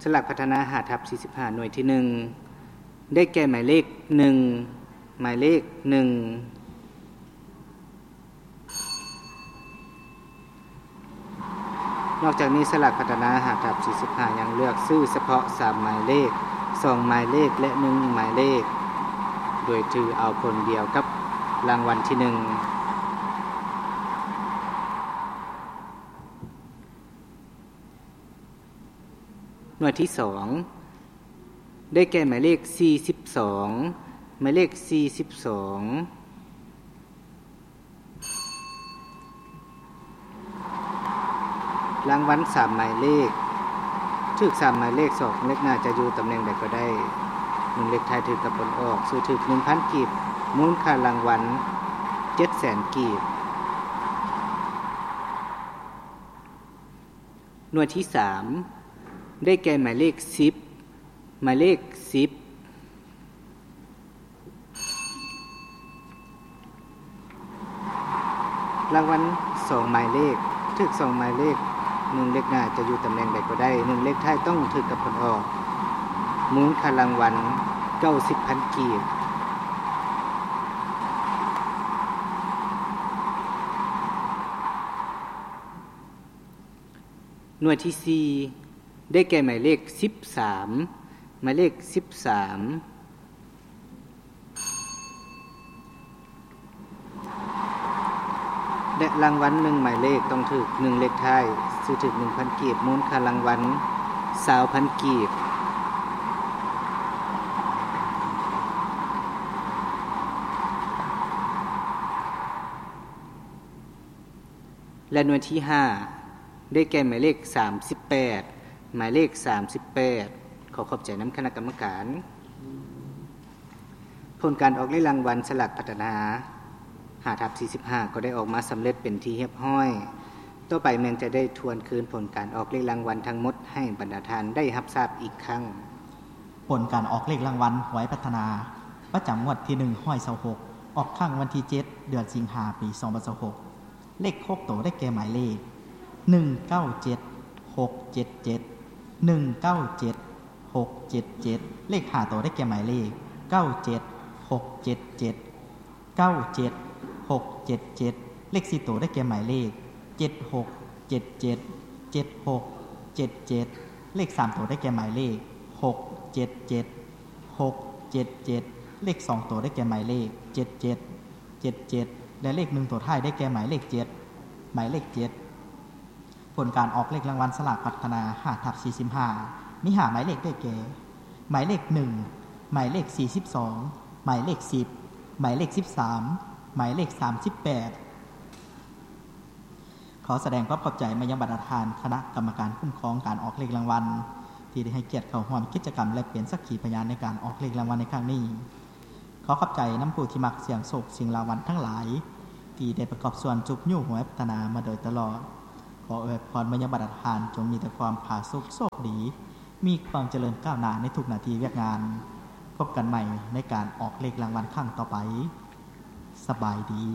ສະຫຼາກພັດທະນາ ຫ້າທັບສີ່ສິບຫ້າ ໜ່ວຍທີໜຶ່ງ ໄດ້ແກ່ໝາຍເລກໜຶ່ງ ໝາຍເລກໜຶ່ງ. ນອກຈາກນີ້ ສະຫຼາກພັດທະນາ ຫ້າທັບສີ່ສິບຫ້າ ຍັງເລືອກຊື້ສະເພາະສາມໝາຍເລກ, ສອງໝາຍເລກ ແລະ ໜຶ່ງໝາຍເລກ ໂດຍຖືເອົາຜົນດຽວກັບລາງວັນທີໜຶ່ງ. ໜ່ວຍທີສອງ ໄດ້ແກ່ໝາຍເລກສີ່ສິບສອງ ໝາຍເລກສີ່ສິບສອງ. ລາງວັນສາມໝາຍເລກ ຖືກສາມໝາຍເລກ ສອງເລກໜ້າຈະຢູ່ຕຳແໜ່ງໃດກໍໄດ້ ໜຶ່ງເລກທ້າຍຖືກກັບຜົນອອກ ຊື້ຖືກໜຶ່ງພັນກີບ ມູນຄ່າລາງວັນເຈັດແສນກີບ. ໜ່ວຍທີສາມ ໄດ້ແກ່ໝາຍເລກສິບ ໝາຍເລກສິບ. ລາງວັນສອງໝາຍເລກ ຖືກສອງໝາຍເລກ ໜຶ່ງເລກໜ້າຈະຢູ່ຕຳແໜ່ງໃດກໍໄດ້ ໜຶ່ງເລກທ້າຍຕ້ອງຖືກກັບຜົນອອກ ມູນຄ່າລາງວັນເກົ້າສິບພັນກີບ. ໜ່ວຍທີສີ່ ໄດ້ແກ່ໝາຍເລກສິບສາມ ໝາຍເລກສິບສາມ ແລະ ລາງວັນໜຶ່ງໝາຍເລກຕ້ອງຖືກໜຶ່ງເລກທ້າຍ ຊື້ຖືກໜຶ່ງພັນກີບ ມູນຄ່າລາງວັນຊາວພັນກີບ. ແລະ ໜ່ວຍທີຫ້າ ໄດ້ແກ່ໝາຍເລກສາມສິບແປດ ໝາຍເລກສາມສິບແປດ. ຂໍຂອບໃຈນຳຄະນະກຳມະການ. ຜົນການອອກເລກລາງວັນສະຫຼາກພັດທະນາ ຫ້າທັບສີ່ສິບຫ້າ ກໍໄດ້ອອກມາສຳເລັດເປັນທີ່ຮຽບຮ້ອຍ. ຕໍ່ໄປແມ່ນຈະໄດ້ທວນຄືນຜົນການອອກເລກລາງວັນທັງໝົດໃຫ້ບັນດາທ່ານໄດ້ຮັບຊາບອີກຄັ້ງ. ຜົນການອອກເລກລາງວັນຫວຍພັດທະນາ ປະຈຳງວດທີໜຶ່ງ ຮ້ອຍຊາວຫົກ ອອກຄັ້ງວັນທີເຈັດ ເດືອນສິງຫາ ປີສອງພັນຊາວຫົກ. ເລກຫົກໂຕໄດ້ແກ່ໝາຍເລກ ໜຶ່ງເກົ້າເຈັດຫົກເຈັດເຈັດ ໜຶ່ງເກົ້າເຈັດຫົກເຈັດເຈັດ. ເລກຫ້າໂຕໄດ້ແກ່ໝາຍເລກ ເກົ້າເຈັດຫົກເຈັດເຈັດ ເກົ້າເຈັດຫົກເຈັດເຈັດ. ເລກສີ່ໂຕໄດ້ແກ່ໝາຍເລກ ເຈັດຫົກເຈັດເຈັດ ເຈັດຫົກເຈັດເຈັດ. ເລກສາມໂຕໄດ້ແກ່ໝາຍເລກ ຫົກເຈັດເຈັດ ຫົກເຈັດເຈັດ. ເລກສອງໂຕໄດ້ແກ່ໝາຍເລກ ເຈັດເຈັດ ເຈັດເຈັດ ແລະ ເລກໜຶ່ງໂຕທ້າຍໄດ້ແກ່ໝາຍເລກເຈັດ ໝາຍເລກເຈັດ. ຜົນການອອກເລກລາງວັນສະຫຼາກພັດທະນາ ຫ້າທັບສີ່ສິບຫ້າ ມີຫ້າໝາຍເລກໄດ້ແກ່ ໝາຍເລກໜຶ່ງ ໝາຍເລກສີ່ສິບສອງ ໝາຍເລກສິບ ໝາຍເລກສິບສາມ ໝາຍເລກສາມສິບແປດ. ຂໍສະແດງຄວາມຂອບໃຈມາຍັງບັນດາທ່ານຄະນະກຳມະການຄຸ້ມຄອງການອອກເລກລາງວັນ ທີ່ໄດ້ໃຫ້ກຽດເຂົ້າຮ່ວມກິດຈະກຳ ແລະ ເປັນສັກຂີພະຍານໃນການອອກເລກລາງວັນໃນຄັ້ງນີ້. ຂໍຂອບໃຈນຳຜູ້ທີ່ມັກສ່ຽງໂຊກສ່ຽງລາງວັນທັງຫຼາຍ ທີ່ໄດ້ປະກອບສ່ວນຊຸກຍູ້ຫວຍພັດທະນາມາໂດຍຕະຫຼອດ. ຂໍອວຍພອນມາຍັງບັນດາທ່ານ ຈົ່ງມີແຕ່ຄວາມຜາສຸກໂຊກດີ, ມີຄວາມຈະເລີນກ້າວໜ້າໃນທຸກໜ້າທີ່ວຽກງານ. ພົບກັນໃໝ່ໃນການອອກເລກລາງວັນຄັ້ງຕໍ່ໄປ. ສະບາຍດີ.